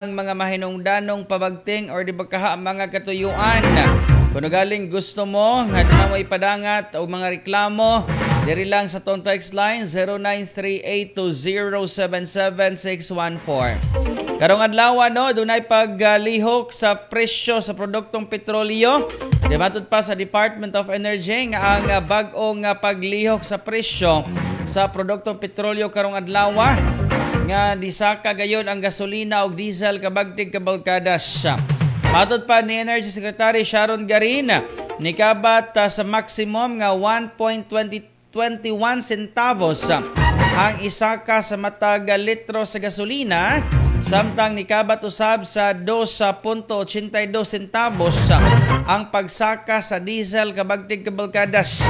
Mga mahinungdanong pabagting or di ba kaha mga katuyuan. Kung galing gusto mo nga na mo ipadangat o mga reklamo, diri lang sa tong text line 0938-2077614. Karong adlaw, no, dunay paglihok sa presyo sa produktong petrolyo. Di matud pa sa Department of Energy nga ang bag-ong paglihok sa presyo sa produktong petrolyo karong adlaw nga disaka gayon ang gasolina ug diesel, kabagtig kabalkadas. Matod pa ni Energy Secretary Sharon Garin, nikabat sa maximum nga 1.2021 centavos ang isaka sa matag litro sa gasolina, samtang nikabat usab sa 2.82 centavos ang pagsaka sa diesel, kabagtig kabalkadas.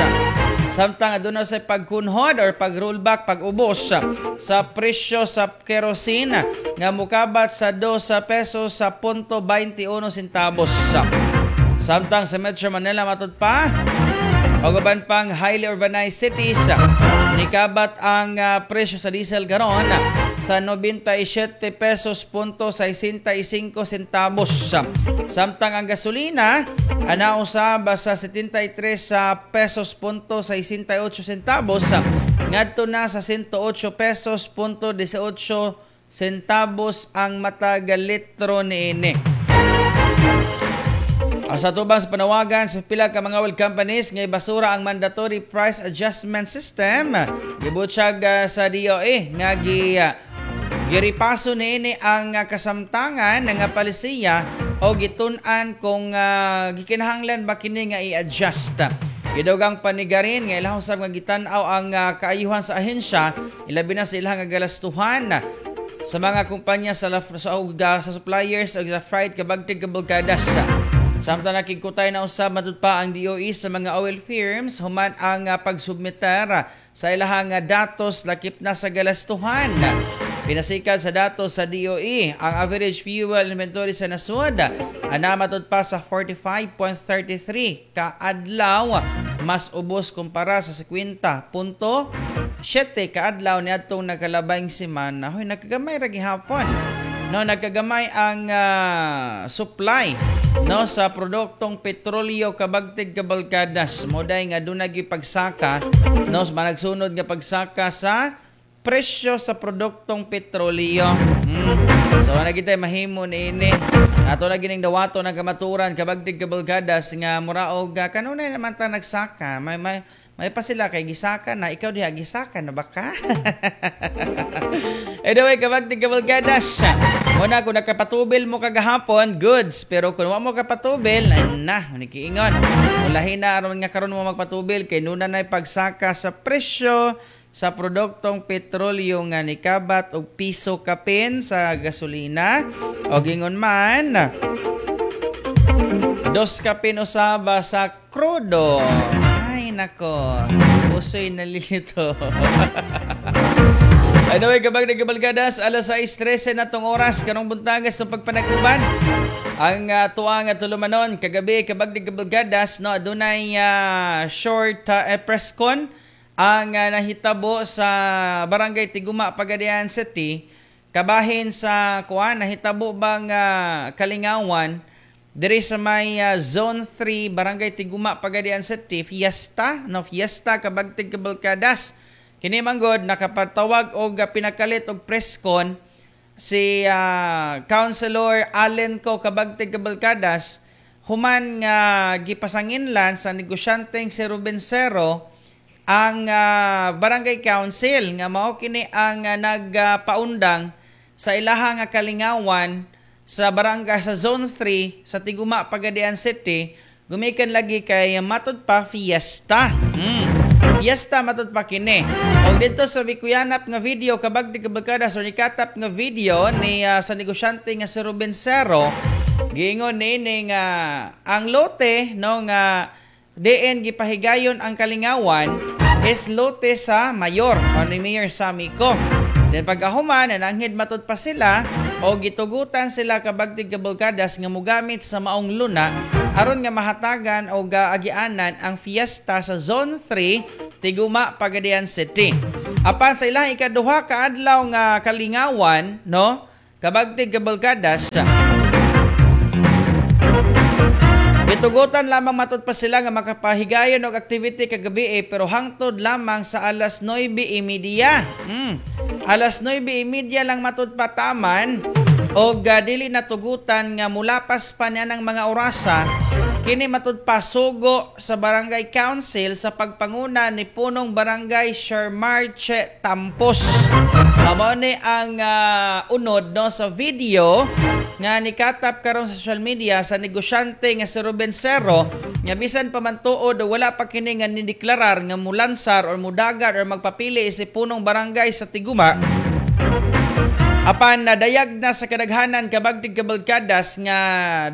Samtang aduna sa pagkunhod or pag-rollback, pag-ubos sa presyo sa kerosene nga mukabat sa 2 pesos sa punto 21 centavos. Samtang sa Metro Manila, matud pa, o uban pang highly urbanized cities, nikabat ang presyo sa diesel karon sa 97 pesos punto 65 centavos. Samtang ang gasolina ana usab sa 73 sa pesos punto 68 centavos ngadto na sa 108 pesos punto 18 centavos ang matag litro niini. Ang sa tubang sa panawagan sa pila ka mga oil companies nga ibasura ang mandatory price adjustment system, gibutyag sa DOE nga giripaso niini ang kasamtangan nga palisiya o gitun-an kung gikinahanglan ba kini nga i-adjust. Gidugang pa ni Garin nga ilahang sab nga gitan-aw ang kaayuhan sa ahensya, ilabi na sa ilang nga galastuhan sa mga kumpanya sa suppliers ug sa freight, kabagtig kabalkadas. Samtang nakigkutay na usab, matud pa ang DOE, sa mga oil firms human ang pagsubmitter sa ilahang datos lakip na sa galastuhan. Pinasikan sa datos sa DOE, ang average fuel inventory sa nasod ana matud pa sa 45.33 kaadlaw, mas ubos kumpara sa 50.7 kaadlaw niadtong nakalabay semana. Hoy, nagkagamay ra gihapon. No, nagkagamay ang supply, no, sa produktong petrolyo, kabagtig kabalkadas. Moday nga dunay pagsaka, no, managsunod nga pagsaka sa presyo sa produktong petrolyo. So ana kita mahimo niini. Ato na gining dawato ng kamaturan, kabagtig kabalkadas, nga muraog kanunay naman ta nagsaka. May pa sila kay gisaka na ikaw diha, gisaka na ba ka? Anyway, kabagtig kabalkadas. Muna kung nakapatubil mo kagahapon, goods. Pero kung wa mo kapatubil, ay na, nikiingon. Ulahin na aron nga karon mo magpatubil kay nuna na pagsaka sa presyo sa produktong petrolyo nga nikabat og piso kapin sa gasolina o gingon man dos kapin usaba sa krudo. Ay nako, puso'y nalilito. Anyway, kabag nagabalgadas, alas 6:13 na tong oras, karong buntagas sa pagpanaguban. Ang tuwa nga tulumanon, kagabi, kabag nagabalgadas, no, adunay short press con ang nahitabo sa Barangay Tiguma, Pagadian City, kabahin sa kuan nahitabo bang kalingawan diri sa may Zone 3, Barangay Tiguma, Pagadian City, fiesta, no, fiesta, kabagtig kabalkadas. Kini manggod nakapatawag og pinakalit og press con si Councilor Allen Co, kabagtig kabalkadas, human nga gipasanginlan sa negosyanteng si Ruben Cero ang Barangay Council nga mao kini ang nagpaundang sa ilaha nga kalingawan sa barangay sa Zone 3 sa Tiguma, Pagadian City, gumikan lagi kay matud pa fiesta. Fiesta matud pa kini. Og dito sa Bikuyanap nga video, kabagtig kabalkadas, o nikatap nga video ni sa negosyante nga si Ruben Cero, giingon niini nga ang lote, no, nga diin gipahigayon ang kalingawan is lote sa mayor o ni Mayor Sammy Co. Then pagkahuman, nananghid matud pa sila o gitugutan sila, kabagtig kabalkadas, nga mogamit sa maong luna aron nga mahatagan o gaagianan ang fiesta sa Zone 3, Tiguma, Pagadian City. Apan sa ilang ikaduha ka adlaw nga kalingawan, no, Kabagtig Kabalkadas, gitugutan lamang matud pa sila nga makapahigayon og activity kagabi eh, pero hangtod lamang sa alas 9:30. Alas 9:30 lang matud pa taman og dili natugutan nga mulapas pa niya ng mga orasa. Kini matud pa sugo sa Barangay Council sa pagpanguna ni punong barangay Shermarche Tampos. Mao ni ang unod, no, sa video nga nikatap karon sa social media sa negosyante nga si Ruben Cerro, nga bisan pa man tuod wala pa kini nga nideklarar nga mulansar or mudagan or magpapili si punong barangay sa Tiguma, apan nadayag na sa kadaghanan, Kabagtig Kabalkadas, nga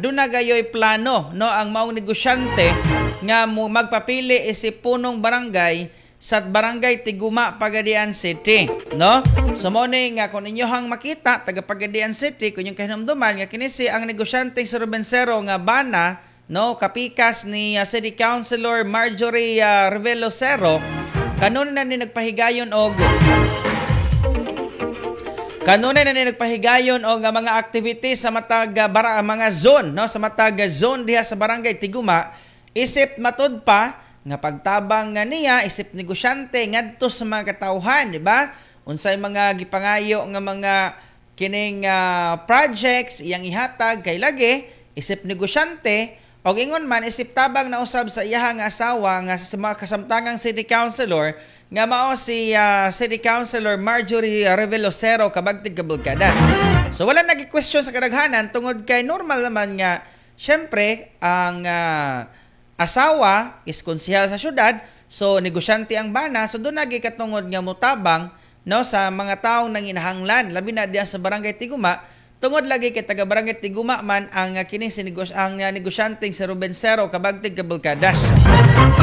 duna gayoy plano, no, ang maong negosyante nga magpapili isip punong barangay sa Barangay Tiguma, Pagadian City, no? So mo ni nga kung inyohang makita taga Pagadian City, kung inyong kahinumduman nga kini si ang negosyante si Ruben Cerro nga bana, no, kapikas ni City Councilor Marjorie Revelo Cerro, kanunay na ni nagpahigayon og mga activities sa matag mga zone, no, sa matag zone diha sa Barangay Tiguma, isip matud pa nga pagtabang nga niya isip negosyante ngadto sa mga katawhan, di ba? Unsay mga gipangayo nga mga kining projects iyang ihatag kay lagi isip negosyante, og ingon man isip tabang na usab sa iyaha nga asawa nga sa mga kasamtangang city councilor nga mao si City Councilor Marjorie Revelo Cerro, Kabagtig Kabalkadas. So wala nagi-question sa kadaghanan tungod kay normal naman nga syempre ang asawa is konsehal sa syudad, so negosyante ang bana, so doon nagi katungod nga mutabang, no, sa mga taong nanginahanglan labi na diya sa Barangay Tiguma, tungod lagi kay taga Barangay Tiguma man ang kining si ang negosyanteng si Ruben Cerro, Kabagtig Kabalkadas.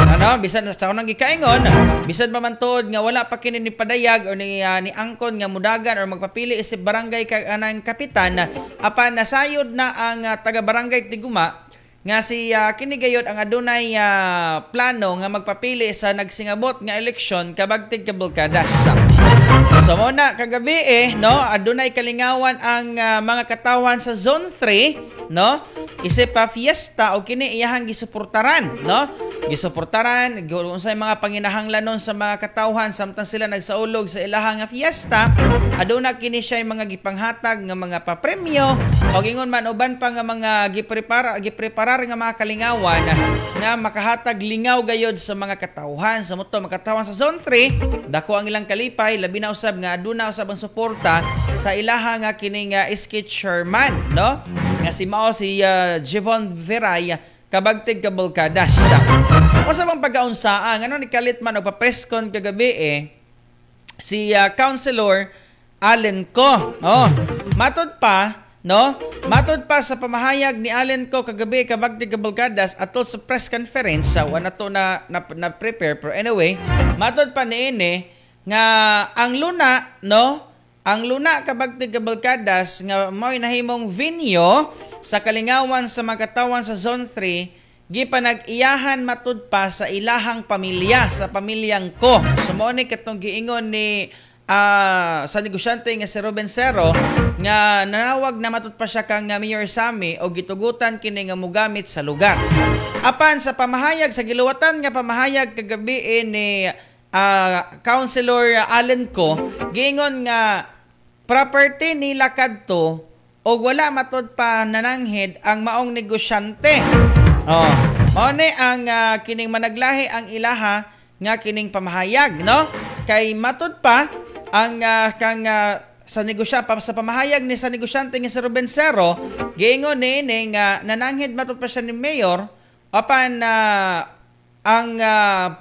Ano, bisan sa unang gikaingon, bisan pa man tuod nga wala pa kini ni padayag o ni angkon nga mudagan or magpapili isip barangay kag anang kapitan, apan nasayod na ang taga Barangay Tiguma nga si kini gayod ang adunay plano nga magpapili sa nagsingabot nga eleksyon, Kabagtig Kabalkadas. So mo na kagabi eh, no, adunay kalingawan ang mga katawan sa Zone 3, no? Isip pa fiesta o kini iyahang gisuportaran, no? Gisuportaran unsay mga panginahanglanon sa mga katawhan samtang sila nagsaulog sa ilahang nga fiesta, aduna kini siya mga gipanghatag nga mga papremyo o ingon man uban pa nga mga gipreparar nga mga kalingawan nga makahatag lingaw gayod sa mga katawhan. Sa moto mga katawhan sa Zone 3, dako ang ilang kalipay, labi na usab nga aduna usab ang suporta sa ilaha nga kining SK chairman, no, nga si mao si Jevon Veray, Kabagtig Kabalkadas. Unsa bang pagkaunsaa ngano ni kalit man og pa-press con kagabi eh si Councilor Allen Co? Oh, matod pa, no? Matod pa sa pamahayag ni Allen Co kagabi, Kabagtig Kabalkadas, atol sa press conference, wala to na prepare, pero anyway, matod pa niini nga ang luna, no? Ang luna, Kabagtig Kabalkadas, nga mao'y nahimong venue sa kalingawan sa mga katawan sa Zone 3, gipanag-iyahan matud pa sa ilahang pamilya, sa pamilyang ko. So mao ni katong giingon ni sa negosyante nga si Ruben Cerro nga nanawag na matud pa siya kang Mayor Sami o gitugutan kini nga mogamit sa lugar. Apan sa pamahayag sa giluwatan nga pamahayag kagabi eh, ni Councilor Allen Co, giingon nga property nila kadto og wala matud pa nananghid ang maong negosyante. Oh, mao ni ang kining managlahi ang ilaha nga kining pamahayag, no? Kay matud pa ang kang sa negosya pa, sa pamahayag ni sa negosyante nga si Ruben Cerro, giingon niini nga nananghid matud pa siya ni mayor, apan ang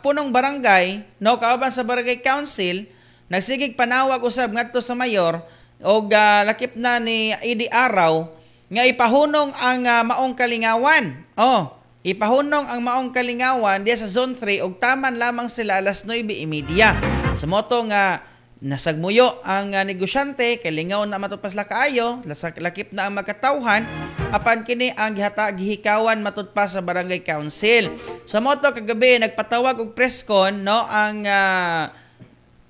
punong barangay, no, kauban sa barangay council, nagsigig panawag usab ngadto sa mayor og lakip na ni Idi Araw nga ipahunong ang maong kalingawan. Oh, ipahunong ang maong kalingawan diya sa Zone 3 og taman lamang sila alas 9:30. Sa moto nga nasagmuyo ang negosyante kay lingaw na matud pa sila kaayo, lakip na ang magkatawhan, apan kini ang gihikawan matud pa sa barangay council. Sa moto kagabi nagpatawag og press con, no, ang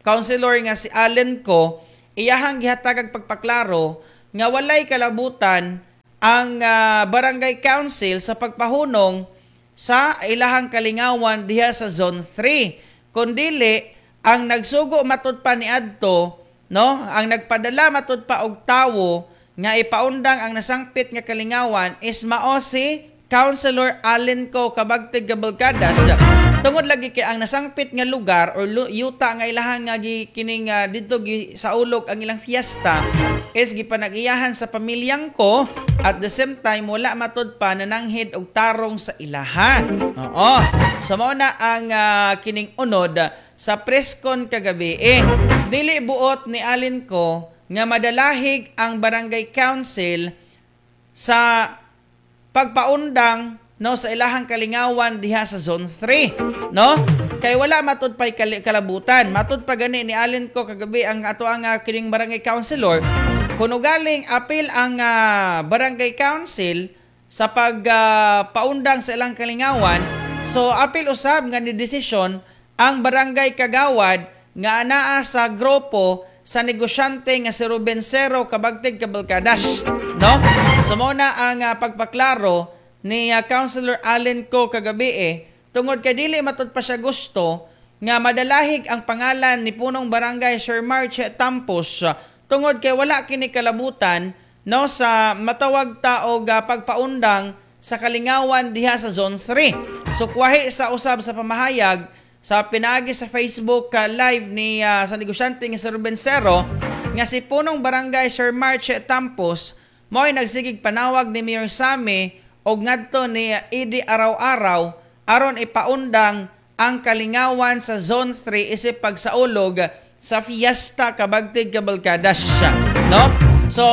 councilor nga si Allen Co, iyahang gihatag ang pagpaklaro nga walay kalabutan ang barangay council sa pagpahunong sa ilahang kalingawan diha sa Zone 3. Kun dili ang nagsugo matud pa niadto, no, ang nagpadala matud pa og tawo nga ipaundang ang nasangpit nga kalingawan is mao si Councilor Allen Co, kabagtig Cabalcadas, tungod lagi kay ang nasangpit nga lugar or yuta nga ilahang nga gi, kining didto gi saulog ang ilang fiesta is gipanag-iyahan sa pamilyang Co. At the same time, wala matud pa nananghid og tarong sa ilaha. Oo. So mao na ang kining unod sa presscon kagabi eh. Dili buot ni Allen Co nga madalahig ang barangay council sa pagpaundang, no, sa ilahang kalingawan diha sa Zone 3, no, kay wala matud pay kalabutan. Matud pa gani ni Allen Co kagabi, ang ato ang kining barangay councilor, kuno galing apil ang barangay council sa pagpaundang sa ilang kalingawan. So apil usab nga ni desisyon ang barangay kagawad nga anaa sa grupo sa negosyante nga si Ruben Cero, kabagtig Cabalcadas, no? So mao na ang pagpaklaro ni Councilor Allen Co kagabi eh, tungod kay dili matud pa siya gusto nga madalahig ang pangalan ni punong barangay Sir March Tampos, tungod kay wala kini kalabutan, no, sa matawag ta og pagpaundang sa kalingawan diha sa Zone 3. So kuwahi sa usab sa pamahayag sa pinaagi sa Facebook live ni sa negosyante nga si Ruben Cero nga si punong barangay Sir March Tampos mo'y nagsigig panawag ni Mayor Sami og ngadto ni Eddie Araw-araw aron ipaundang ang kalingawan sa Zone 3 isip pagsaulog sa fiesta, kabagtig Cabalcadas, no? So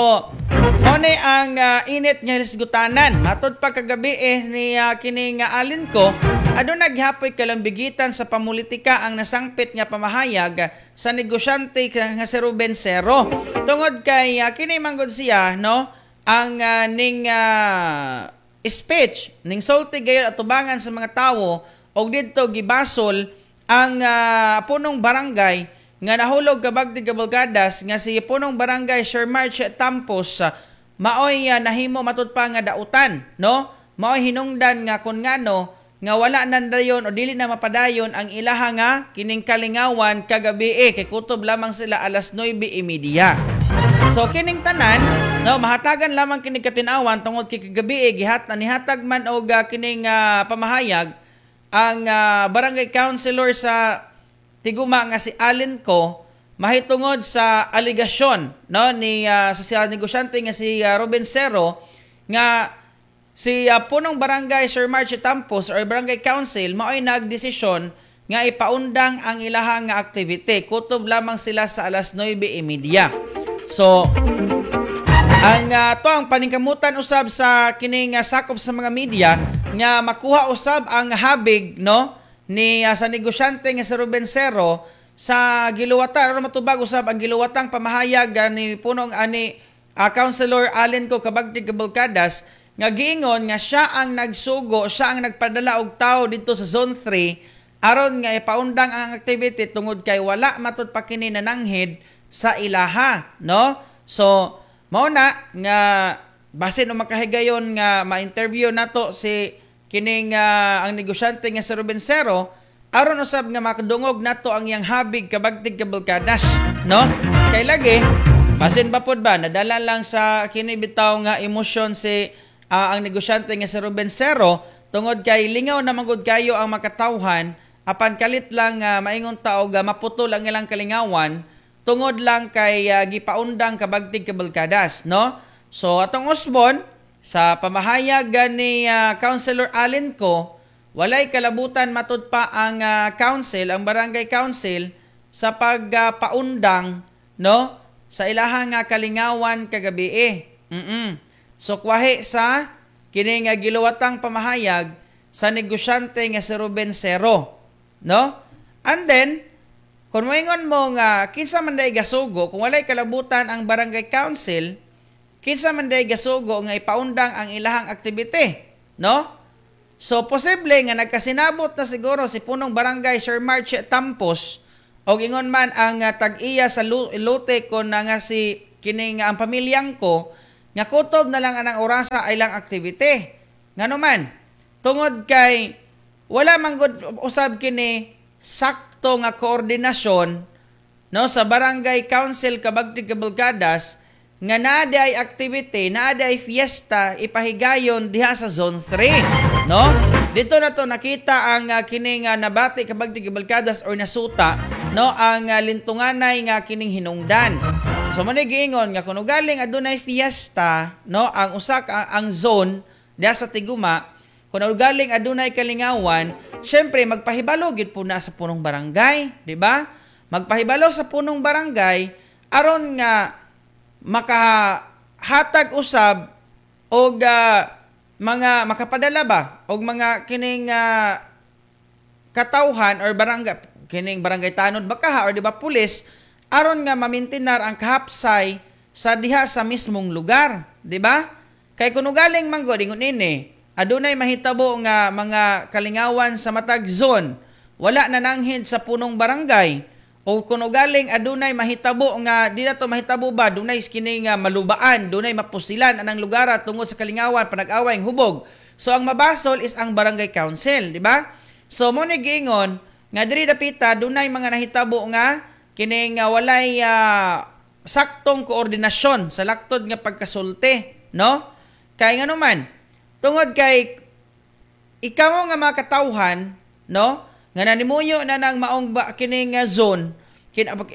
mao ni ang init nga hisgutanan. Matod pa kagabi eh ni kining Allen Co, aduna gihapon kalambigitan sa pamulitika ang nasangpit nga pamahayag sa negosyante nga si Ruben Cero. Tungod kay kini manggod siya, no, ang ning speech ning sulti gayon atubangan sa mga tawo og didto gibasol ang punong barangay nga nahulog, kabagtig Cabalcadas, nga si punong barangay Sir March Tampos, maoy nahimo matud pa nga dautan, no, maoy hinungdan nga kun ngano nga wala nandayon o dili na mapadayon ang ilaha nga kining kalingawan kagabi eh, kay kutob lamang sila alas 9:30. So kining tanan, no, mahatagan lamang kini katinawan tungod kay kagabi eh, gihat nihatag man og kining pamahayag ang barangay councilor sa Tiguma nga si Allen Co mahitungod sa aligasyon, no, ni sa siya negosyante nga si Ruben Cero nga si punong barangay Sir March Tampos or barangay council maoy nagdesisyon nga ipaundang ang ilahang nga activity, kutob lamang sila sa alas 9:30. So ang to ang paningkamutan usab sa kining sakop sa mga media nga makuha usab ang habig, no, ni sa negosyante nga si Ruben Cero sa giluwatan aron matubag usab ang giluwatang pamahayag ni punong ani Councilor Allen Co, kabagtig Cabalcadas, nga giingon nga siya ang nagsugo, siya ang nagpadala og tawo didto sa Zone 3 aron nga ipaundang ang activity tungod kay wala matud pa kini nananghid sa ilaha, no? So mao na nga basin o makahigayon nga ma-interview nato si kining ang negosyante nga si Ruben Cero aron usab nga makadungog nato ang iyang habig, kabagtig Cabalcadas, no? Kay lagi basin ba pod ba nadala lang sa kini bitaw nga emosyon si ang negosyante nga si Ruben Cero, tungod kay lingaw na manggod kayo ang makatawhan, apan kalit lang maingon ta og maputol ang ilang kalingawan tungod lang kay gipaundang, kabagtig Cabalcadas, no? So atong usbon sa pamahayag ni Councilor Allen Co, walay kalabutan matud pa ang council, ang barangay council sa pagpaundang, no, sa ilahang kalingawan kagabi eh. So kwahi sa kini nga giluwatang pamahayag sa negosyante nga si Ruben Cero, no? And then kung moingon mo nga kinsa man day gasugo, kung walay kalabutan ang barangay council, kinsa man day gasugo nga ipaundang ang ilahang activity, no? So posible nga nagkasinabot na siguro si punong barangay Sir March Tampos og ingon man ang tag-iya sa lote kon na nga si kining ang pamilyang ko nga kutob na lang anang orasa ay lang activity. Ngano man, tungod kay wala man gud usab kini sakto nga koordinasyon, no, sa Barangay Council Kabagtig Kabalkadas nga naa ay activity, naa ay fiesta ipahigayon diha sa Zone 3, no? Dito na to nakita ang kining nabati, Kabagtig Kabalkadas, or nasuta, no, ang lintunganay nga kining hinungdan. So mo giingon nga kuno galing adunay fiesta, no, ang usa ka ang zone diha sa Tiguma, kung galing adunay kalingawan, syempre magpahibalo gyud po na sa punong barangay, di ba? Magpahibalo sa punong barangay aron nga makahatag usab og mga makapadala ba og mga kining katawhan or barangay, kining barangay tanod ba kaha or di ba pulis, aron nga mamintinar ang kahapsay sa diha sa mismong lugar, di ba? Kay kuno galing man gud ingon ini, adunay mahitabo nga mga kalingawan sa matag zone, wala na nanghid sa punong barangay, o kuno galing adunay mahitabo nga di na to mahitabo ba, dunay kini nga malubaan, dunay mapusilan anang lugar tungod sa kalingawan, panag-away, hubog. So ang mabasol is ang barangay council, di ba? So mo ni giingon nga diri dapita dunay mga nahitabo nga kining walay saktong koordinasyon sa laktod nga pagkasulti, no? Kay ngano man, tungod kay ikaw nga mga katawhan, no, nga nanimuyo na nang maong ba, kining zone,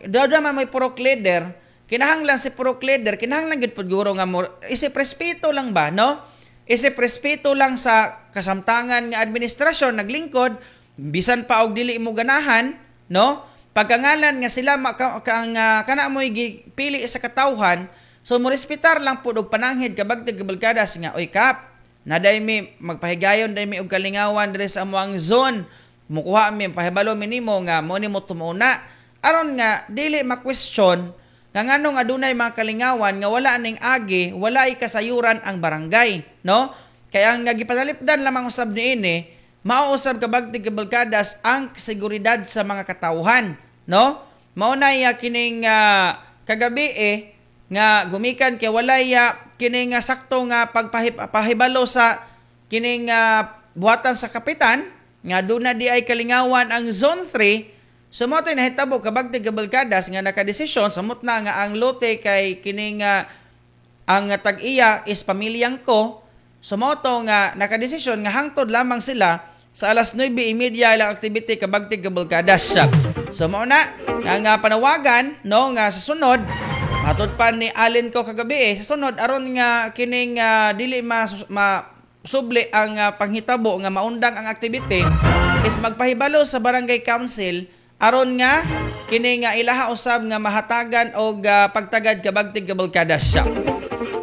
daw man may purok leader, kinahanglan si purok leader, kinahanglan gyud pud guro nga mo isip respeto lang ba, no? Isip respeto lang sa kasamtangan nga administrasyon naglingkod bisan pa og dili mo ganahan, no? Pagkangalan nga sila kana mo'y gipili sa katawhan, so mo respetar lang pud og pananghid, Kabagtig Kabalkadas, nga oy kap, naday mi magpahigayon day mi og kalingawan diri sa amoang zone, mukuha mi pahibalo mi nimo nga mo ni mo tumuna, aron nga dili ma-question nga nganong adunay mga kalingawan nga wala ning agi, wala kasayuran ang barangay, no? Kaya ang gipanalipdan lamang usab niini, mao usab, Kabagtig Kabalkadas, ang seguridad sa mga katawhan, no? Mao na kining kagabi eh nga gumikan kay walay kining sakto nga pagpahibalo sa kining buhatan sa kapitan nga doon na di ay kalingawan ang Zone 3. So mo to'y nahitabo, Kabagtig Kabalkadas, nga nakadesisyon samot na nga ang lote kay kining ang tag-iya is pamilyang ko. So mo to nga nakadesisyon nga hangtod lamang sila sa alas 9:30 ilang activity, Kabagtig Kabalkadas. So mao na nga panawagan, no, nga sa sunod, matod pa ni Allen ko kagabi eh, sa sunod aron nga kining dili ma, ma subli ang panghitabo nga maundang ang activity is magpahibalo sa barangay council aron nga kini nga ilaha usab nga mahatagan og pagtagad, Kabagtig Kabalkadas.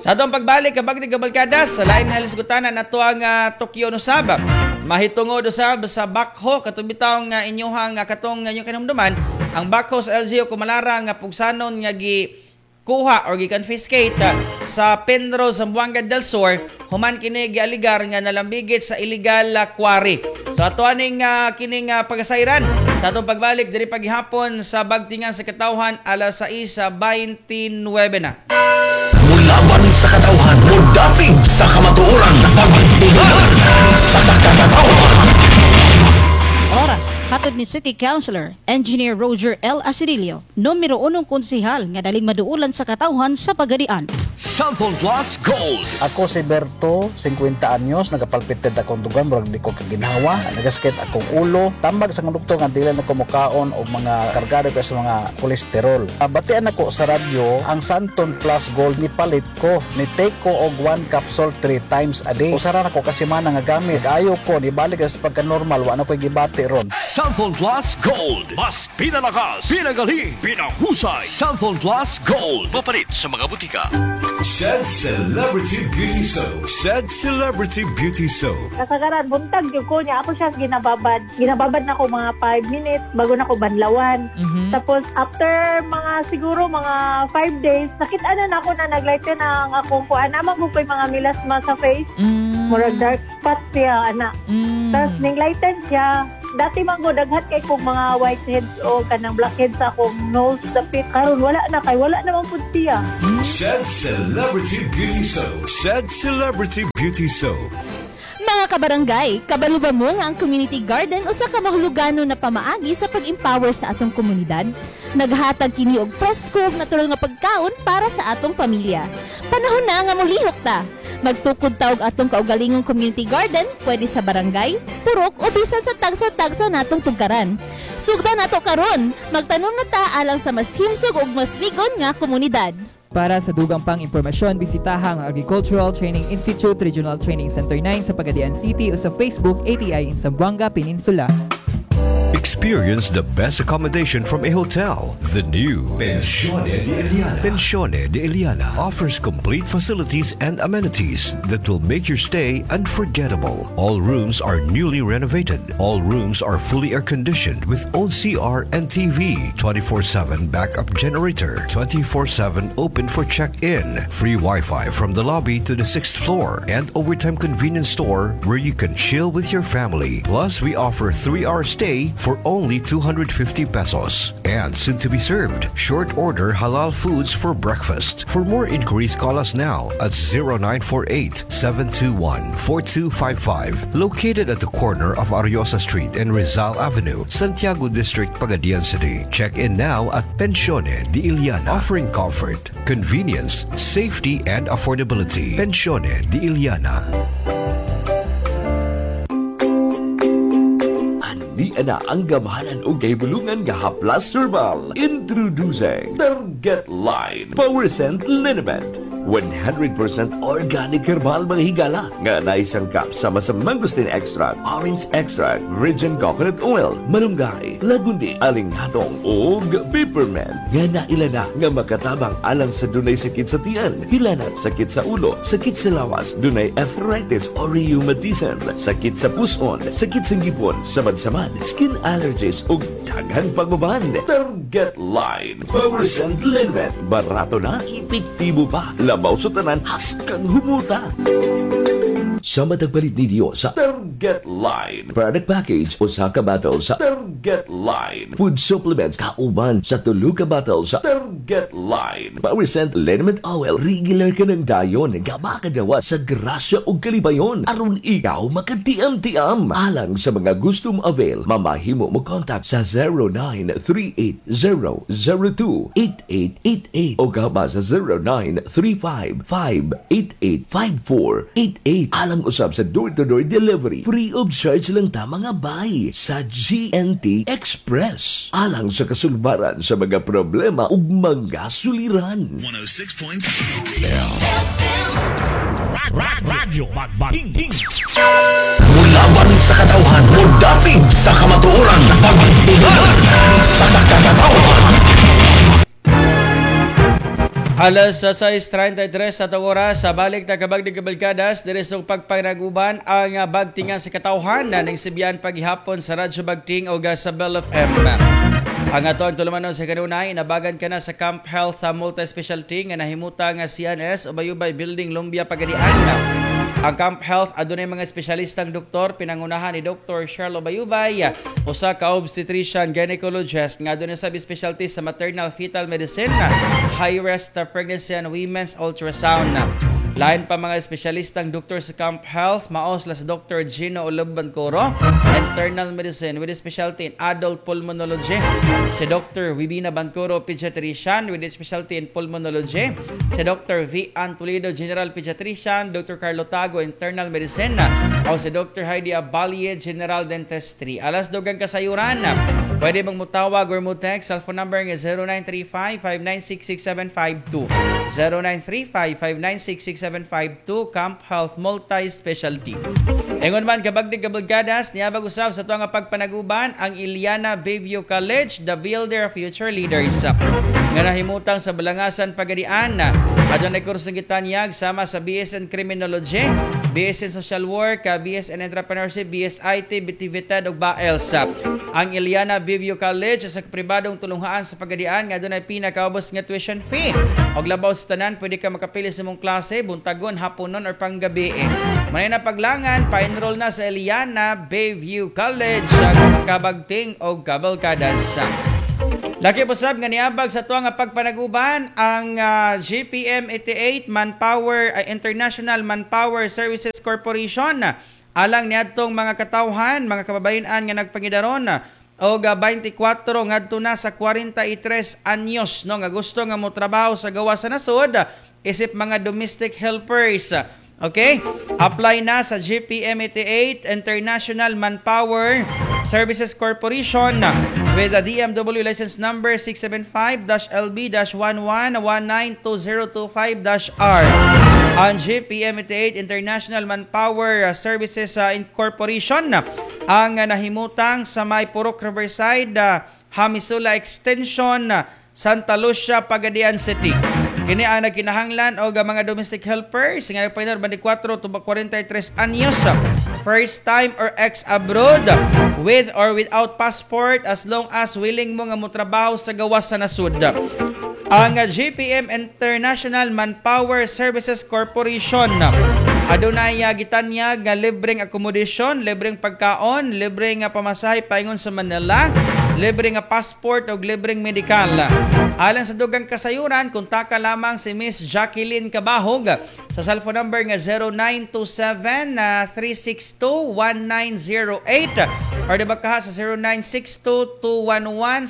Sa atong pagbalik, Kabagtig Kabalkadas, sa lain na hilisgutanan ato ang Tokyo no sab mahitungod usab sa backhoe katong bitaw nga inyuhang katong inyong kinumduman, ang backhoe sa LGU Kumalara nga pugsanon nga gi kuha or gi-confiscate sa Penro, Zamboanga del Sur, human kini gialigar nga nalambigit sa illegal quarry. So ato aning kining pagasayran sa atong pagbalik diri paghihapon sa Bagtingan sa Katawhan, alas 6:29 na. Mulaban sa katawhan, mudapig sa kamatuoran, pagtigan sa katawhan. Oras, hatod ni City Councilor, Engineer Roger L. Asedillo, numero unong konsehal nga daling maduulan sa katawhan sa Pagadian. Xanthone Plus Gold. Ako si Berto, 50 anyos, nagapalpited akong dugan, murag di ko kaginhawa, nagasakit akong ulo, tambag sa doktor nga dili na ko mukaon og mga kargado kay sa mga kolesterol. Batian ako sa radyo, ang Xanthone Plus Gold, ni palit ko, ni take ko og one capsule three times a day. Usara na ko kasi mana nga gamit. Ayo ko, nibalik sa pagka-normal, wa na ko'y gibati ron. Xanthone Plus Gold. Mas pinalakas, pinagaling, pinahusay. Xanthone Plus Gold. Papalit sa mga butika. Said Celebrity Beauty Soap. Said Celebrity Beauty Soap. Kasagaran, buntag gyud ko niya. Ako siya ginababad. Ginababad na ko mga 5 minutes bago na ko banlawan. Tapos after mga siguro mga 5 days, nakita na nako na naglighten ang akong kuan. Naman ko ko'y mga melasma sa face. Murag dark spots siya, ana. Tapos ning lighten siya. Dati man ko daghan kay kong mga whiteheads o kanang blackheads sa akong nose dapit. Karon wala na kay wala naman pud siya. Said Celebrity Beauty Soap. Said Celebrity Beauty Soap. Mga kabarangay, kabalo ba mo nga ang community garden usa ka mahuluganon na pamaagi sa pag-empower sa atong komunidad? Naghatag kini og presko ug natural nga pagkaon para sa atong pamilya. Panahon na nga mulihok ta. Magtukod ta og atong kaugalingong community garden, pwede sa barangay, purok o bisan sa tagsa-tagsa natong tugkaran. Sugdan nato karon, magtanom na ta alang sa mas himsog ug mas ligon nga komunidad. Para sa dugang pang impormasyon, bisitaha ang Agricultural Training Institute Regional Training Center 9 sa Pagadian City o sa Facebook ATI in Zamboanga Peninsula. Experience the best accommodation from a hotel. The new Pensione de Eliana. Pensione de Eliana offers complete facilities and amenities that will make your stay unforgettable. All rooms are newly renovated. All rooms are fully air conditioned with own CR and TV, 24/7 backup generator, 24/7 open for check-in, free Wi-Fi from the lobby to the sixth floor, and overtime convenience store where you can chill with your family. Plus, we offer 3-hour stay for only 250 pesos. And soon to be served, short order halal foods for breakfast. For more inquiries, call us now at 0948 721 4255. Located at the corner of Ariosa Street and Rizal Avenue, Santiago District, Pagadian City. Check in now at Pensione de Iliana, offering comfort, convenience, safety, and affordability. Pensione de Iliana. Ani na ang gamhanan og gahibulungan nga haplas herbal. Introducing Target Line Power Scent Liniment. 100% organic herbal, mga higala, nga naisangkap sama sa mangosteen extract, orange extract, virgin coconut oil, malunggay, lagundi, alingatong ug peppermint nga naila na nga makatabang alang sa dunay sakit sa tiyan, hilanat, sakit sa ulo, sakit sa lawas, dunay arthritis or rheumatism, sakit sa puson, sakit sa ngipon, samad-samad, skin allergies ug daghan pang uban. Target Line Power Scent Liniment. Barato na, epektibo pa. Labaw sa tanan, haskang humuta. Sa matagpalit ni Dios sa Target Line Product Package, usa ka bottle sa Target Line Food Supplements kauban sa tulo ka bottle sa Target Line Power Scent Liniment Oil, regular ka ng dayon nga makadawat sa grasya ug kalibayon aron ikaw makatiam-tiam. Alang sa mga gusto mo avail, mamahimo mo contact sa 0938-002-8888 o gaba sa 0935-588-5488 alang usab sa door-to-door delivery. Free of charge lang ta, mga bay, sa GNT Express. Alang sa kasulbaran sa mga problema ug mga suliran. 106.7 Radyo Bagting. Mulaban sa katawhan, mudapig sa kamatuoran, pagtinan sa katawhan. Alas sa 6:33 sa atong oras sa balik na kabagdig kabalkadas diri sa pagpanaguban ang bagtingan sa katawhan na ning sibiyan paghihapon sa Radyo Bagting o sa Bell FM. Ang ato ang tulumanon sa kanunay, nabagan ka na sa Camp Health Multi-Specialty nga nahimuta nga CNS o Bayubay Building, Lumbia, Pagadian. Ang Camp Health adunay mga espesyalistang doktor pinangunahan ni Dr. Charlo Bayubay, usa ka obstetrician gynecologist nga adunay sab specialty sa maternal fetal medicine, high risk pregnancy and women's ultrasound. Lain pa mga espesyalistang doktor sa Camp Health, mao sila sa Dr. Gino Olobancoro, internal medicine with specialty in adult pulmonology. Si Dr. Wibina Bancoro, pediatrician with specialty in pulmonology. Si Dr. V. Ann Toledo, general pediatrician. Dr. Carlo Tago, internal medicine. O si Dr. Heidi Abalie, general dentistry. Alas dugang kasayuran, pwede bang mutawag or mo text cellphone number nga 0935-596-6752. 0935-596-6752, Camp Health Multi-Specialty. Ingon man kabagdig kabulgadas, niabag usab sa tuang pagpanaguban ang Iliana Bayview College, the builder of future leaders, nga nahimutang sa Balangasan, Pagadian. Adunay kurso gitanyag sama sa BS in Criminology, BS in Social Work, BS in Entrepreneurship, BS IT, BTVTED ug BAELS. Ang Eliana Bayview College sa pribadong tulunghaan sa Pagadian nga adunay pinakaubos nga tuition fee. Og labaw sa tanan, pwede ka makapili sa imong klase, buntagon, haponon or panggabi. Manay na paglangan, pa-enroll na sa Eliana Bayview College, Kabagting og Cabalcadas. Laki po sab nga niabag sa tuwa nga pagpanaguban ang GPM 88 Manpower International Manpower Services Corporation alang niadtong mga katawhan, mga kababayen-an nga nagpangidaron og 24 ngadto na sa 43 anyos, no, nga gusto nga motrabaho sa gawas sa nasod isip mga domestic helpers. Okay? Apply na sa GPM 88 International Manpower Services Corporation with a DMW license number 675-LB-11192025-R. Ang GPM 88 International Manpower Services Incorporation ang nahimutang sa may Purok Riverside, Hamisula Extension, Santa Lucia, Pagadian City. Kini ang nagkinahanglan og mga domestic helpers nga nagpainor 24 to 43 anyos, first time or ex abroad, with or without passport, as long as willing mo nga motrabaho sa gawas sa nasod. Ang GPM International Manpower Services Corporation adunay gitanyag nga libreng accommodation, libreng pagkaon, libreng pamasahe paingon sa Manila, libre nga passport o libreng medical. Alang sa dugang kasayuran, kontaka lamang si Miss Jacqueline Cabahog sa cellphone number nga 0927 362 1908 or diba ka sa 0962 211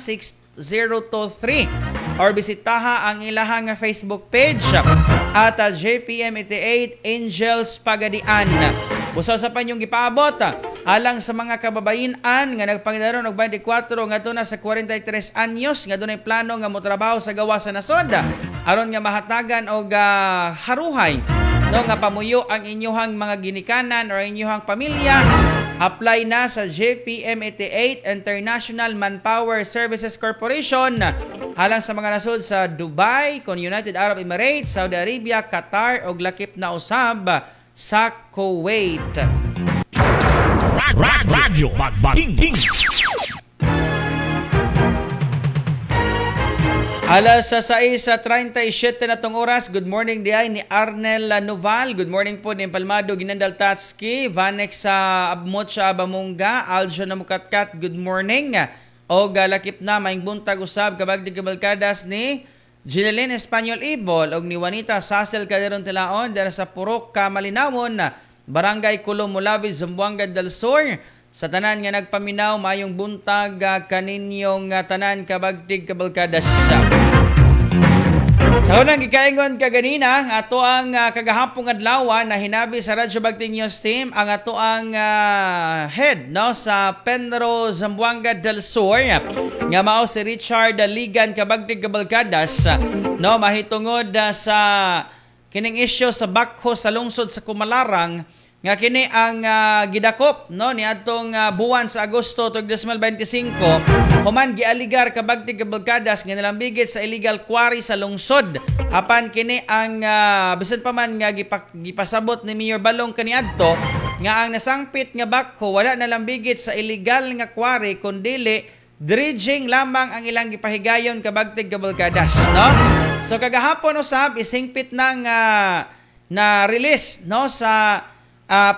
6023 or bisitaha ang ilahang Facebook page at JPM88 Angels Pagadian. Busa sa panyong gipaabot alang sa mga kababayen-an nga nagpangidaron og 24 ngadto na sa 43 anyos nga dunay plano nga motrabaho sa gawas sa nasod aron nga mahatagan og haruhay, no, nga pamuyo ang inyuhang mga ginikanan or inyuhang pamilya. Apply na sa JPM88 International Manpower Services Corporation alang sa mga nasod sa Dubai, kon United Arab Emirates, Saudi Arabia, Qatar ug lakip na usab sa Kuwait. Radyo Bagbating. Alas sa 6:37 na tong oras. Good morning diay ni Arnel Noval. Good morning po ni Palmado Ginandal Tatski, Vanex sa Abmotsa Abamunga, Aljo na Mukatkat. Good morning. O galakip na maing buntag usab kabagdig kabalkadas ni Gineline Espanyol Ibol og ni Juanita Sasel Calderon Tilaon dara sa Purok Kamalinawon, Barangay Kulo Mulabi, Zamboanga del Sur. Sa tanan nga nagpaminaw, mayong buntag kaninyong tanan kabagtig kabalkadas. Sa unang gikaingon kaganina, ato ang kagahapong adlaw na hinabi sa Radyo Bagting News Team ang ato ang head, no, sa Penro Zamboanga del Sur nga mao si Richard Ligan kabagtig kabalkadas, no, mahitungod sa kining isyu sa bakho sa lungsod sa Kumalarang nga kini ang gidakop, no, niadtong buwan sa Agosto 2025 human gialigar kabagtig kabalkadas nga nalambigit sa illegal quarry sa lungsod. Apan kini ang bisan pa man nga gipasabot ni Mayor Balong kaniadto nga ang nasangpit nga bakho wala nalambigit sa illegal nga quarry kundili dredging lamang ang ilang gipahigayon kabagtig kabalkadas, no. So kagahapon usab isingpit nang na release, no, sa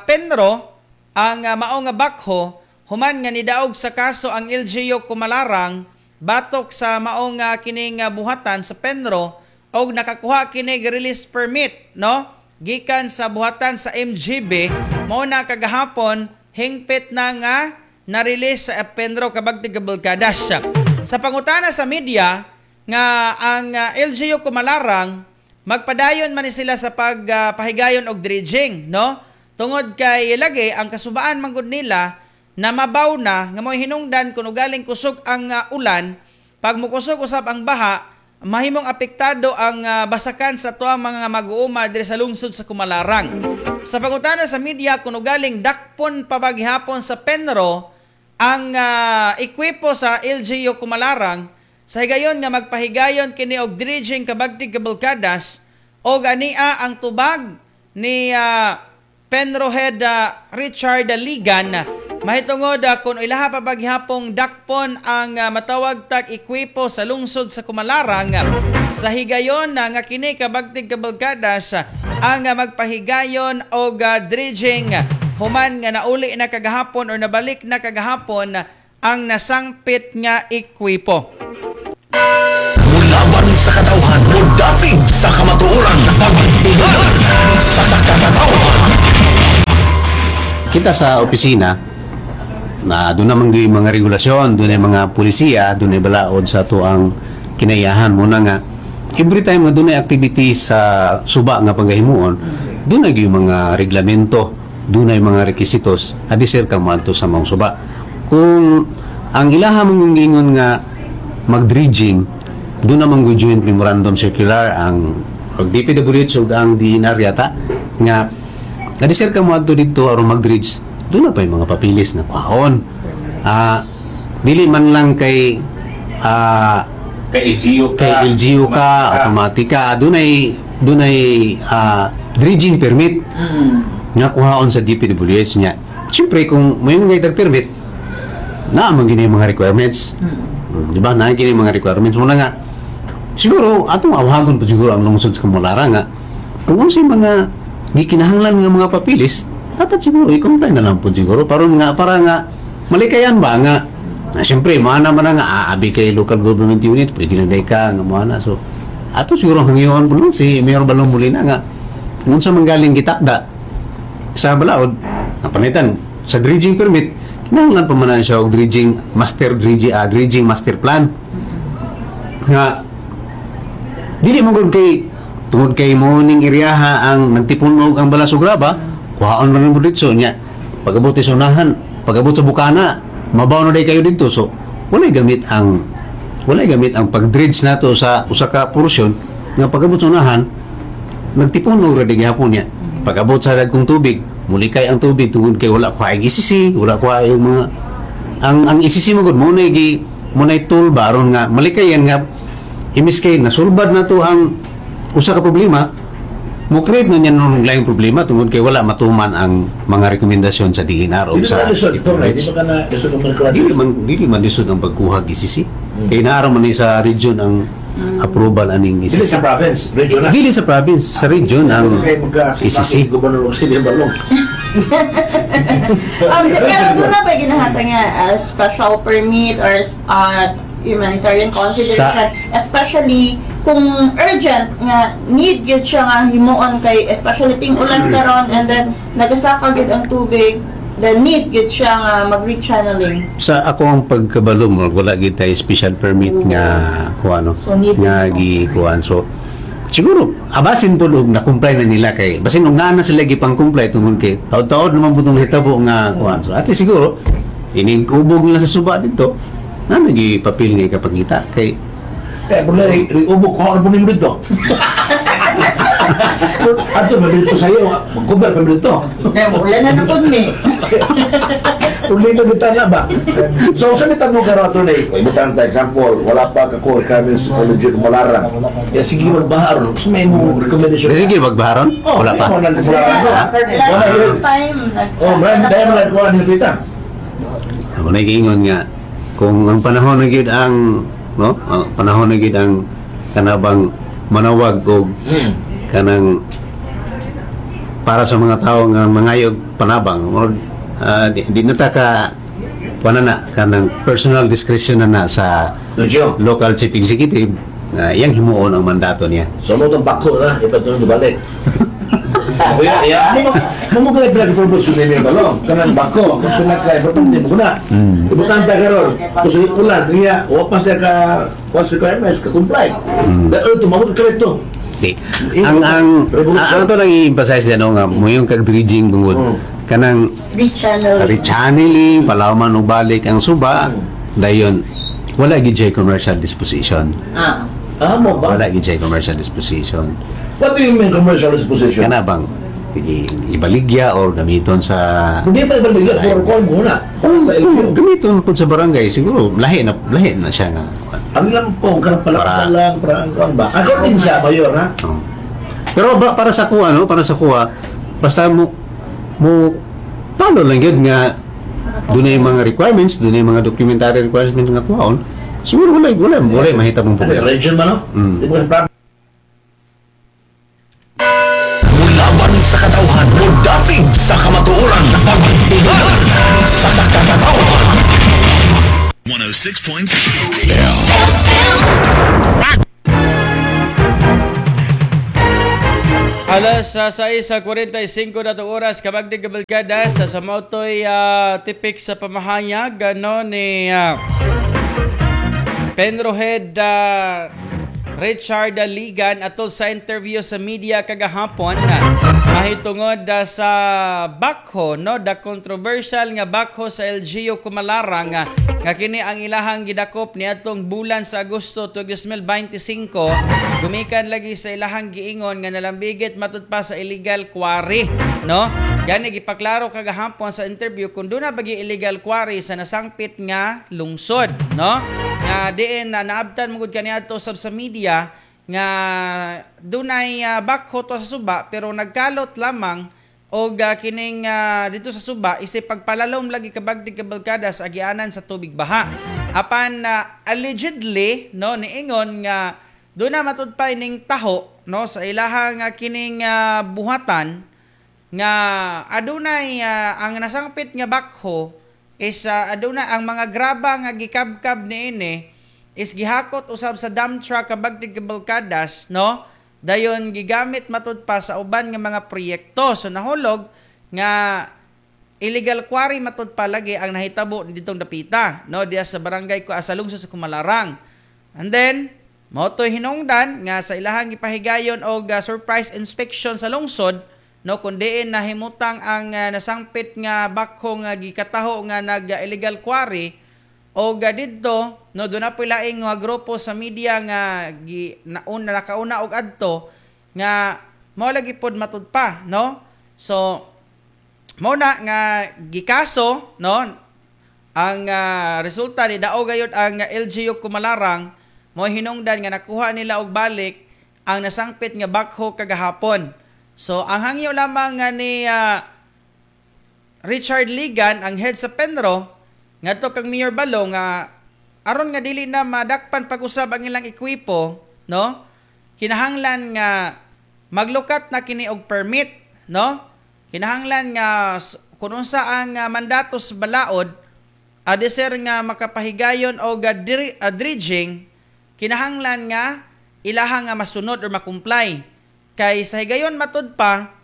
Penro ang mao nga bakho human nga nidaog sa kaso ang LGU Kumalarang batok sa mao nga kining buhatan sa Penro og nakakuha kini release permit, no, gikan sa buhatan sa MGB. Mao na kagahapon hingpit na nga na-release sa Penro kabagtig kabalkadas. Sa pangutana sa media nga ang LGU Kumalarang magpadayon man sila sa pagpahigayon og dredging, no, tungod kay lagi ang kasubaan manggod nila na mabaw na nga mo'y hinungdan kung ugaling kusog ang ulan, pag mukusog usab ang baha, mahimong apektado ang basakan sa tuang mga mag-uuma diri sa lungsod sa Kumalarang. Sa pangutana sa media kung ugaling dakpon pabaghihapon sa Penro ang ekwipo sa LGU Kumalarang sa higayon nga magpahigayon kini og dredging kabagtig kabalkadas, Og ania ang tubag ni Penro Head Richard Ligan mahitungod kung ilaha pa paghapong dakpon ang matawag tag ekwipo sa lungsod sa Kumalarang sa higayon nga kini kabagtig kabalkadas ang magpahigayon og dredging human nga nauli na kagahapon or nabalik na kagahapon ang nasangpit nga ekwipo. Mulaban sa katawhan, mudapig sa kamatuoran, pagtulunan sa katawhan. Kita sa opisina na doon naman yung mga regulasyon, doon ay mga pulisiya, doon ay balaod sa to ang kinayahan mo na nga every time nga doon ay activities sa suba nga panggahimuon, doon ay yung mga reglamento, doon ay mga rekisitos, adi sir ka moadto sa mga suba. Kung ang ilaha mong ingon nga mag-dredging, doon naman yung joint memorandum circular ang DPWH ug ang DENR yata nga adi sir ka moadto dito aron mag-dredge, doon na pa yung mga papilis na kuhaon. Dili man lang kay kay LGU ka, kay LGU ka, automatic ka, doon ay dredging permit nga kuhaon sa DPWH niya. Siyempre kung may mga permit, naa man gini yung mga requirements. Di ba? Naa gini yung mga requirements. Muna nga, siguro, atong awhagon pa siguro ang lungsod sa Kamalara nga, kung unsay mga gikinahanglan nga mga papilis, dapat siguro i-comply na lang po siguro. Para nga, malikayan ba nga, na siyempre, mana man na nga, aabi kay local government unit, pwede na day ka, nga mana. So, ato siguro ang hangyoon po si Mayor Balong Molina nga, kung sa manggaling gitakda, sa balaod, ang panitan, sa dredging permit, kinahanglan pa man na siya og dredging master plan. Nga, dili mo gud kay tungod kay mo ning iryaha ang nagtipon og ang balas ug graba, kuhaon man mo dito nya. Pag-abot sa unahan, pag-abot sa bukana, mabaw na day kayo dito. So, walay gamit ang pag-dredge nato sa usa ka porsyon nga pag-abot sa unahan, nagtipon og ra gihapon niya. Pag-abot sa dagkong tubig, muli kay ang tubig tungod kay wala ko ay ECC, wala ko ay mga ang ECC mo gud mo na gi mo na tool ba aron nga malikayan nga imis kay nasulbad na to ang usa ka problema, mo create na niya nung laing problema tungod kay wala matuman ang mga rekomendasyon sa DENR o Dili sa ba lisod, Torre? Di DPWH. ba ka na lisod ang mga Dili man lisod ang pagkuha og ECC. Kay naara man ni sa region ang approval aning Dili ECC. sa province, region na. Dili sa province, sa region ang Kay magka ECC. Governor Auxilio Balong. Pero doon na ba ginahatag nga special permit or humanitarian consideration, especially kung urgent nga need gyud siya nga himuon kay especially ting ulan karon and then nagasaka gyud ang tubig, then need gyud siya nga mag-rechanneling? Sa ako ang pagkabalo mo, wala gid tay special permit nga kuan no So, need nga gikuan. So siguro abasin po og na-comply na nila kay basin og naa na sila gipang-comply tungod kay taod-taod naman po tong hitabo nga kuan. So at least siguro ining ubog nila sa suba dito na nagi papel nga ikapangita kay Eh, problema, ubog ko ano po nimo dito. Ato, mabilito sa iyo. Mag-cover pa dito. Wala na na ni. Problema kita na ba? So, sa kita mo karon, attorney, kung ibutang ta example, wala pa ka core requirements sa College of Malarang. Ya sige magbaharon. So may mo recommendation. Sige magbaharon? Oh, Wala pa. Wala Last time Oh, man, dahil man kuan kita. Ako na giingon nga kung ang panahon na gyud ang no, ang panahon na gyud ang kanabang manawag og kanang para sa mga tao nga mangayog panabang murag di na ta ka kuan na kanang personal discretion na na sa local chief executive nga iyang himuon ang mandato niya. So mo tong bako na, ipat nung balik. Kuya, ya, mo mo kaya pinag-propose ko ni Balong, kanang bako, kung pinaka importante mo na. Importante karon, kung sa ulan niya, wa pa siya ka once requirements ka comply. Dahil tumawag ka rito. Di. Ang ato lang i-emphasize din no, nga mo yung kag dredging bungod kanang Rechanneling. Rechanneling, palawman og balik ang suba, dayon wala gid siya commercial disposition. Ah. Ah, mo ba? Wala gid siya commercial disposition. What do you mean commercial disposition? Kana bang ibaligya or gamiton sa Hindi pa ibaligya, puro kuan muna. Para sa LGU. Gamiton pud sa barangay siguro lahi na siya nga. Ang lampong, karang palakpa lang, para ang kuan ba? According sa mayor, ha? Oh. Pero ba, para sa kuha, no? Para sa kuha, basta mo mo talo lang yun nga doon yung mga requirements, doon yung mga documentary requirements nga kuhaon, siguro wala, wala, wala mahita mong problema. Region man, no? Di mo problem. Mulaban sa katawhan, mudapig sa kamatuoran, pagtulunan sa katawhan. 106.0 Alas 6:45 na itong oras, kabagdig kabalkada sa Samautoy tipik sa pamahayag ano, ni Penrohead Richard Ligan atol sa interview sa media kagahapon mahitungod sa bakho, no, the controversial nga bakho sa LGU Kumalarang nga kini ang ilahang gidakop niadtong bulan sa Agosto 2025 gumikan lagi sa ilahang giingon nga nalambigit matud pa sa illegal quarry, no? Gani gipaklaro kagahapon sa interview kung doon na bagi illegal quarry sa nasangpit nga lungsod, no? Nga diin na naabtan mo gud kaniadto sab sa media nga dunay bakho to sa suba pero nagkalot lamang og kining dito sa suba isip pagpalalom lagi kabagdig kabalkada sa agianan sa tubig baha. Apan allegedly, no, niingon nga doon na matud pa ining taho, no, sa ilahang kining buhatan nga adunay ang nasangpit nga bakho is aduna ang mga graba nga gikabkab niini is gihakot usab sa dump truck kabagdig kabalkadas, no? Dayon gigamit matud pa sa uban nga mga proyekto. So nahulog nga illegal quarry matud pa lagi ang nahitabo ditong dapita, no, diya sa barangay ko sa lungsod sa Kumalarang. And then mao toy hinungdan nga sa ilahang gipahigayon og surprise inspection sa lungsod, no, kun diin nahimutang ang nasangpit nga bakho nga gikataho nga nag illegal quarry og didto, no, doon na po laing nga grupo sa media nga gi nauna nakauna og adto nga mao lagi pod matud pa, no? So mao na nga gikaso, no, ang resulta ni dao gayud ang LGU Kumalarang mo hinungdan nga nakuha nila og balik ang nasangpit nga bakho kagahapon. So ang hangyo lamang nga ni Richard Ligan, ang head sa Penro, ngadto kang Mayor Balo nga aron nga dili na madakpan pag-usab ang ilang ekwipo, no? Kinahanglan nga maglukat na kini og permit, no? Kinahanglan nga kun unsa ang mandato sa balaod adeser nga makapahigayon og dredging, kinahanglan nga ilaha nga masunod or makumply. Kay sa higayon matud pa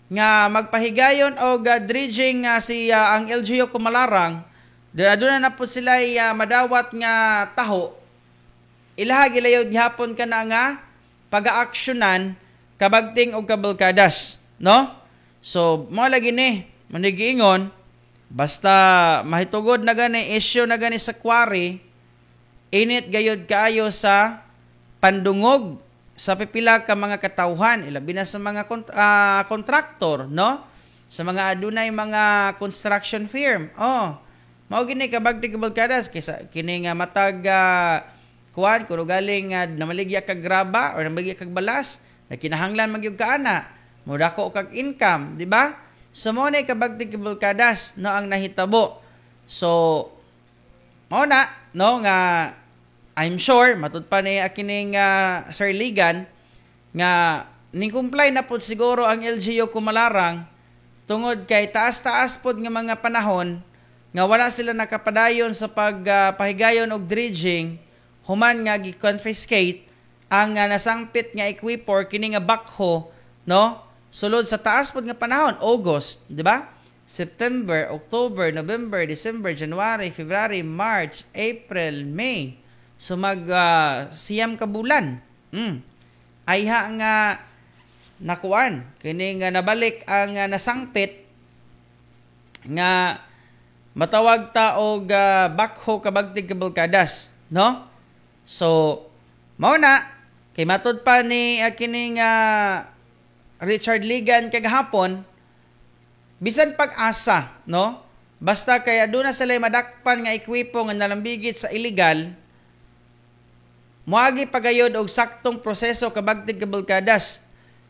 nga magpahigayon og dredging si ang LGU Kumalarang, doon na po sila madawat nga taho, ilaha gilayod gihapon kana nga pag-aaksyonan kabagting og kabalkadas, no? So mao lagi ni manigiingon basta mahitugod na gani issue na gani sa quarry, init gayod kaayo sa pandungog sa pipila ka mga katawhan, ilabi na sa mga kontraktor, no? Sa mga adunay mga construction firm. Oh, mao gini kabagtig kabalkadas kaysa kini nga matag kuan kuno galing namaligya kag graba or namaligya kag balas, na kinahanglan magyud ka ana, modako kag income, di ba? So mao ni kabagtig kabalkadas, no, ang nahitabo. So mao na, no, nga I'm sure matud pa ni kining Sir Ligan nga ning comply na pud siguro ang LGU Kumalarang tungod kay taas-taas pod nga mga panahon nga wala sila nakapadayon sa pagpahigayon og dredging human nga gi-confiscate ang nasangpit nga equipor kini nga bakho, no, sulod sa taas pod nga panahon, August, di ba? September, October, November, December, January, February, March, April, May. So mag 9 ka bulan. Ayha nga nakuan kini nga nabalik ang nasangpit nga matawag ta og bakho kabagtig kabalkadas, no? So mao na kay matud pa ni kining Richard Ligan kagahapon bisan pag-asa, no? Basta kay aduna sila madakpan nga ekwipo nga nalambigit sa illegal, moagi pagayod og saktong proseso kabagtig kabalkadas.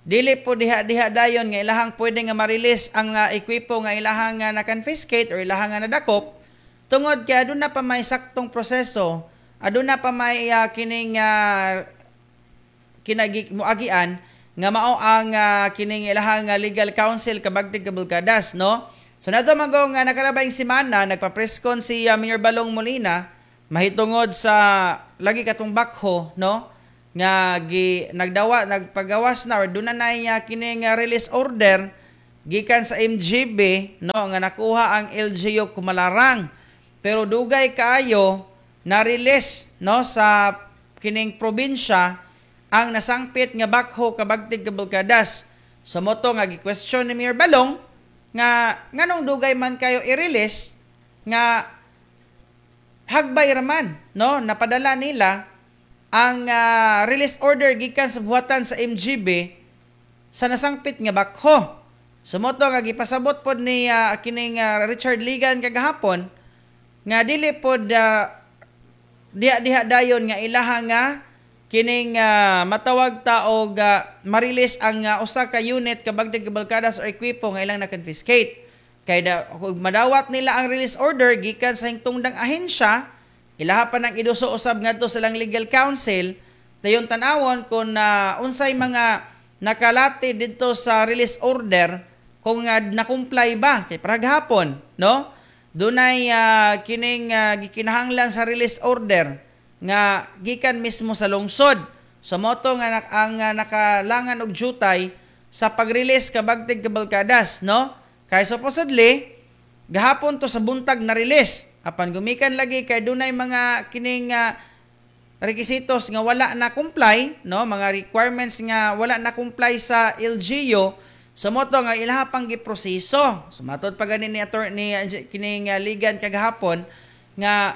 Dili po diha-diha dayon nga ilahang pwede nga ma-release ang ekwipo nga ilahang na-confiscate or ilahang nga nadakop tungod kay aduna pa may saktong proseso, aduna pa may kining kinagi muagian nga mao ang kining ilahang legal counsel kabagtig kabulkadas, no? So nato manggong nakalabayng semana nagpa-presscon si Mayor Balong Molina mahitungod sa lagi katong bakho, no, nga gi nagdawa nagpagawas na or duna na kining release order gikan sa MGB, no, nga nakuha ang LGU Kumalarang, pero dugay kaayo na release, no, sa kining probinsya ang nasangpit nga bakho kabagtig kabulkadas. So moto nga gi-question ni Mayor Balong nga nganong dugay man kayo i-release nga hagbay raman, no, napadala nila ang release order gikan sa buhatan sa MGB sa nasangpit nga bakho. So moto nga gipasabot pod ni kining Richard Ligan kagahapon nga dili pod diha-diha dayon nga ilaha nga kining matawag ta og ma-release ang usa ka unit kabagtig kabalkadas or ekwipo nga ilang na-confiscate. Kay kung madawat nila ang release order gikan sa hingtungdang ahensya, ilaha pa nang iduso usab ngadto sa lang legal counsel, dayon tan-awon kung unsay mga nakalati didto sa release order kung na-comply ba kay paraghapon, no? Dunay kining gikinahanglan sa release order nga gikan mismo sa lungsod. So moto nga ang nakalangan og jutay sa pag-release kabagtig kabalkadas, no? Kay supposedly gahapon to sa buntag na release. Apan gumikan lagi kay dunay mga kining rekisitos nga wala na comply, no, mga requirements nga wala na comply sa LGU. So moto nga ilaha pang giproseso. So matod pa gani ni attorney kining Ligan kagahapon nga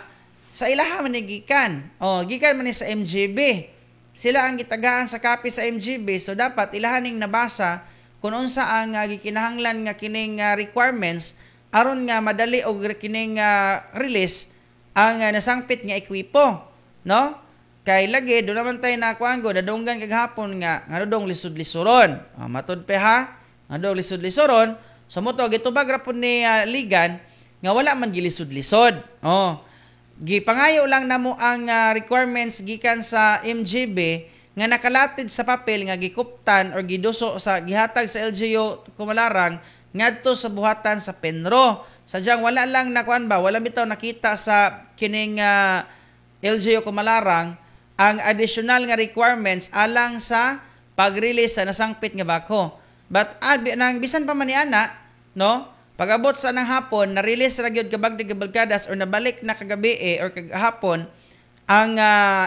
sa ilaha man ni gikan. O gikan man ni sa MGB. Sila ang gitagaan sa copy sa MGB, so dapat ilaha ning nabasa kung unsa ang gikinahanglan nga kining requirements aron nga madali og kining release ang nasangpit nga ekwipo, no? Kay lagi do naman tay nakuan go dadunggan kagahapon nga ngadong lisod-lisoron. Matud pa ha, ngadong lisod-lisoron. So moto gitubag ra pud ni Ligan nga wala man gilisod-lisod. Oh, gipangayo lang namo ang requirements gikan sa MGB nga nakalatid sa papel nga gikuptan or giduso sa gihatag sa LGU Kumalarang ngadto sa buhatan sa Penro. Sadyang wala lang nakuan ba, wala bitaw nakita sa kining LGU Kumalarang ang additional nga requirements alang sa pag-release sa nasangpit nga bako. But nang bisan pa man ni ana, no, pag-abot sa nang hapon, na-release ra gyud kabagdig kabalkadas or nabalik na kagabi or kagahapon ang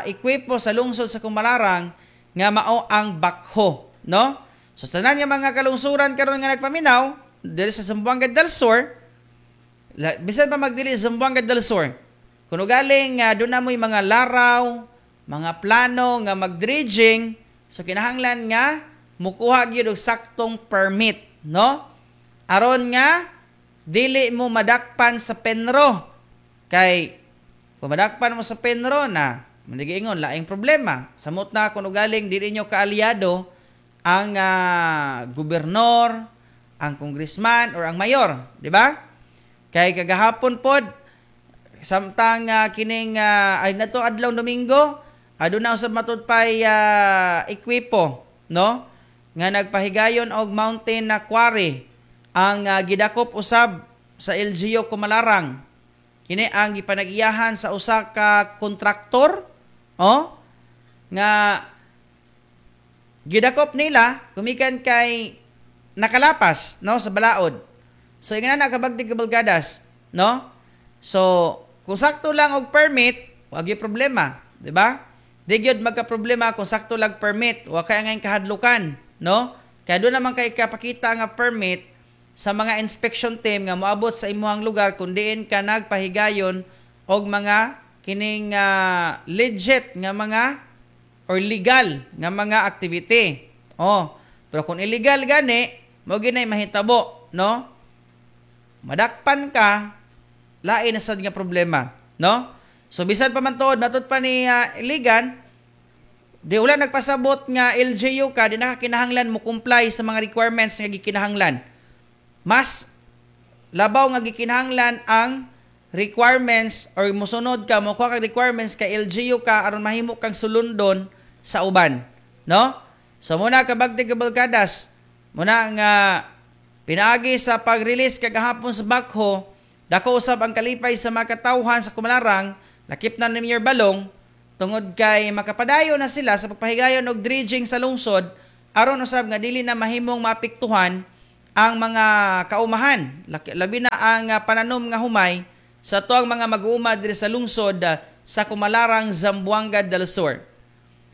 ekwipo sa lungsod sa Kumalarang nga mao ang bakho, no? So sa tanan nga mga kalungsuran karon nga nagpaminaw diri sa Zamboanga del Sur, bisan pa magdili sa Zamboanga del Sur, kuno galing doon na mo'y mga laraw, mga plano nga magdredging, so kinahanglan nga mukuha gyud og saktong permit, no? Aron nga dili mo madakpan sa Penro. Kay kung madakpan mo sa Penro na, manigiingon laing problema. Samot na kuno galing dili nyo kaalyado ang gobernador, ang congressman or ang mayor, di ba? Kay kagahapon pod samtang kining ay nato adlaw Domingo, aduna usab matud pay ekwipo, no, nga nagpahigayon og mountain na quarry ang gidakop usab sa LGU Kumalarang. Kini ang gipanag-iyahan sa usa ka kontraktor, oh, nga gidakop nila gumikan kay nakalapas, no, sa balaod. So ingana na kabagtig kabalgadas, no? So kung sakto lang og permit, wa gyud problema, di ba? Di gyud magka problema kung sakto lang permit, wa kay angay kahadlukan, no? Kay doon naman kay kapakita nga permit sa mga inspection team nga moabot sa imuhang lugar kung diin ka nagpahigayon og mga kining legit nga mga or legal nga mga activity. Oh, pero kung illegal gani, mo ginay mahitabo, no? Madakpan ka, lain na sad nga problema, no? So bisan pa man tuod matud pa ni Ligan, Di wala nagpasabot nga LGU ka, di nakakinahanglan mo comply sa mga requirements nga gikinahanglan. Mas labaw nga gikinahanglan ang requirements or mosunod ka, mokuha kag requirements kay LGU ka aron mahimo kang sulundon sa uban, no? So muna kabagtig kabalkadas, muna nga pinaagi sa pag-release kagahapon sa backhoe, dako usab ang kalipay sa mga katawhan sa Kumalarang, lakip na ni Mayor Balong, tungod kay makapadayo na sila sa pagpahigayon og dredging sa lungsod aron usab nga dili na mahimong maapektuhan ang mga kaumahan, labi na ang pananom nga humay sa tuang mga mag-uuma diri sa lungsod sa Kumalarang, Zamboanga del Sur.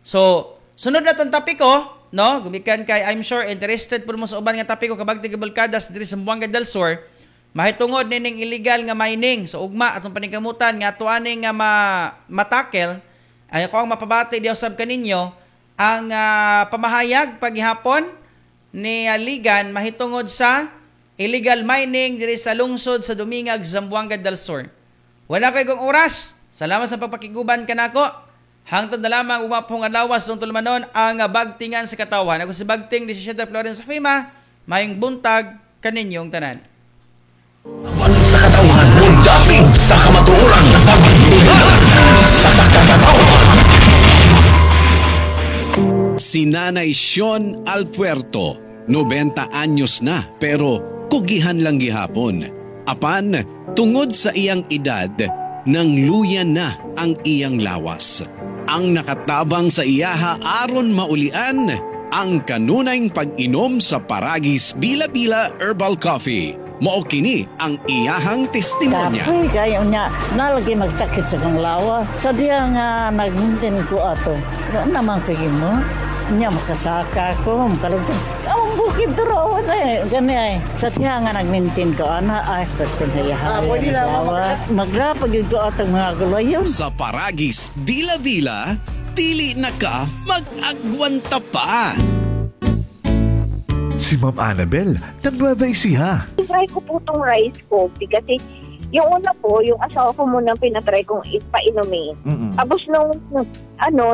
So, sunod na tong topiko, no? Gumikan kay I'm sure interested pud mo sa uban nga topiko kabagtig kabalkadas diri sa Zamboanga del Sur, mahitungod nining illegal nga mining. So ugma atong paningkamutan nga ato ani nga matakel. Ay ako ang mapabati diha usab kaninyo ang pamahayag paghihapon ni Ligan mahitungod sa illegal mining diri sa lungsod sa Dumingag, Zamboanga del Sur. Wala kay kong oras. Salamat sa pagpakiguban kanako. Hangtod na lamang umapong adlaw sa tulumanon ang bagtingan sa katawan. Ako si Bagting 17 Florence Fima, mayong buntag kaninyong tanan. Sa katawan, mundapig sa kamatuoran, pagtingan sa katawan. Si Nanay Sean Alpuerto, 90 anyos na pero kugihan lang gihapon. Apan, tungod sa iyang edad, nang luya na ang iyang lawas. Ang nakatabang sa iyaha aron maulian ang kanunayng pag-inom sa Paragis Bila-Bila Herbal Coffee. Mao kini ang iyahang testimonya. Kapoy kayo niya, nalagi magsakit sa kong lawa. Sa diya nga nagmuntin ko ato, wala naman kay mo. Niya makasaka ko, makalugsan. Ang bukid duro, gani ay. Sa diya nga nagmintin ko, ana, ay, pagpinhayahay. Magrapag yun ko atong mga gulayon. Sa Paragis Bila-Bila, dili na ka mag-agwanta pa. Si Ma'am Annabel ng Nueva Ecija. Try ko po itong rice coffee kasi yung una po, yung asawa ko muna pinatry kong ipainumin. Tapos nung,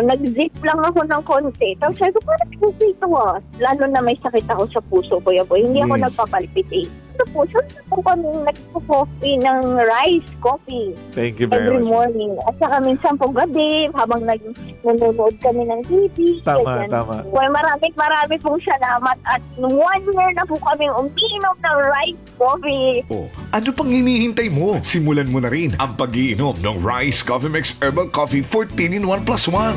nag-zip lang ako ng konti. Tapos sabi ko, parang okay ito ah. Lalo na may sakit ako sa puso, Kuya Boy. Hindi ako nagpapalpitate. Ito po, saan po kami nagpo-coffee ng rice coffee? Thank you very every much. Morning. At saka minsan po gabi, habang nanonood kami ng TV. Tama, ganyan. tama. Well, maraming marami pong salamat at 1 year na po kami umiinom ng rice coffee. Oh, ano pang hinihintay mo? Simulan mo na rin ang pag-iinom ng Rice Coffee Mix Herbal Coffee 14 in 1 plus 1.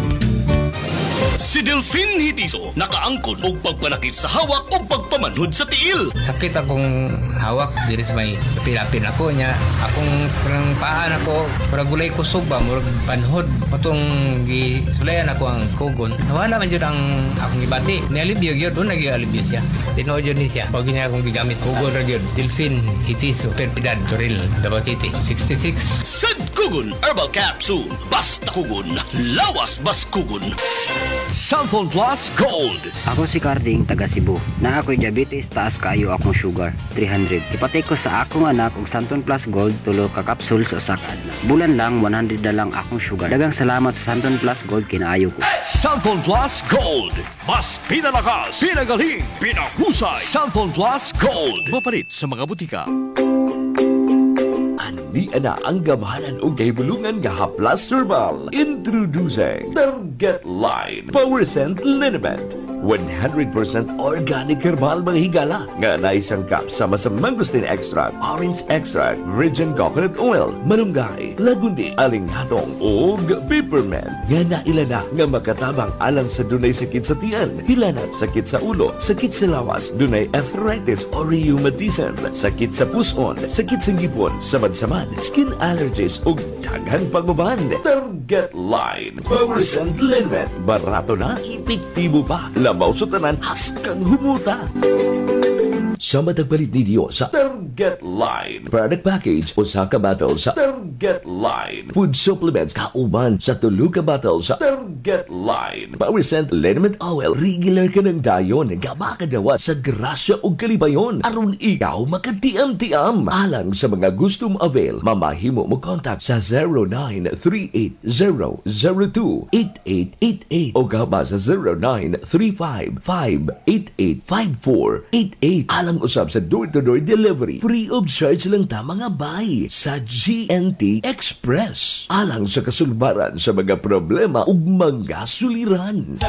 Si Delphine Hitiso, nakaangkon og pagpanakit sa hawak o pagpamanhod sa tiil. Sakit akong hawak diri sa may pilapil ako niya. Akong parang paan ako, parang gulay kusog ba, murag panhod. Patong gisulayan ako ang kugon. Nawala man jud ang akong gibati. Nialibyo gyud, doon nagyalibyo siya. Tinuod jud ni siya. Pag niya akong gigamit kugon ra gyud. Delphine Hitiso, Perpidad, Toril, Davao City, 66. Sad Kugon Herbal Capsule. Basta kugon, lawas bas kugon. Xanthone Plus Gold. Ako si Carding, taga Cebu. Na ako'y diabetes, taas kaayo akong sugar, 300. Ipatay ko sa akong anak og Xanthone Plus Gold tulo ka kapsul sa usa ka adlaw. Bulan lang, 100 na lang akong sugar. Daghang salamat sa Xanthone Plus Gold kinaayo ko. Xanthone Plus Gold. Mas pinalakas, pinagaling, pinahusay. Xanthone Plus Gold. Mapalit sa mga butika. Ani ana ang gamhanan og gahibulungan nga haplas herbal. Introducing Target Line Power Scent Liniment. 100% organic herbal mga higala nga naisangkap sama sa mangosteen extract, orange extract, virgin coconut oil, malunggay, lagundi, alingatong ug peppermint nga naila na nga makatabang alang sa dunay sakit sa tiyan, hilanat, sakit sa ulo, sakit sa lawas, dunay arthritis or rheumatism, sakit sa puson, sakit sa ngipon, samad-samad, skin allergies ug daghan pang uban. Target Line Power Scent Liniment, barato na, epektibo pa, labaw sa tanan, haskang humuta. Sa matagpalit ni Dios sa Target Target Line. Product package, usa ka bottle sa Target Line. Food supplements kauban sa tulo ka bottle sa Target Line. Power Scent Liniment Oil, regular ka ng dayon, gamakadawat sa grasya ug kalibayon aron ikaw makatiam-tiam. Alang sa mga gusto mo avail, mamahimo mo contact sa 0938-002-8888 o gaba sa 0935-588-5488. Alang usab sa door-to-door delivery. Free of charge lang ta, mga bay, sa GNT Express. Alang sa kasulbaran sa mga problema ug mga suliran. Sa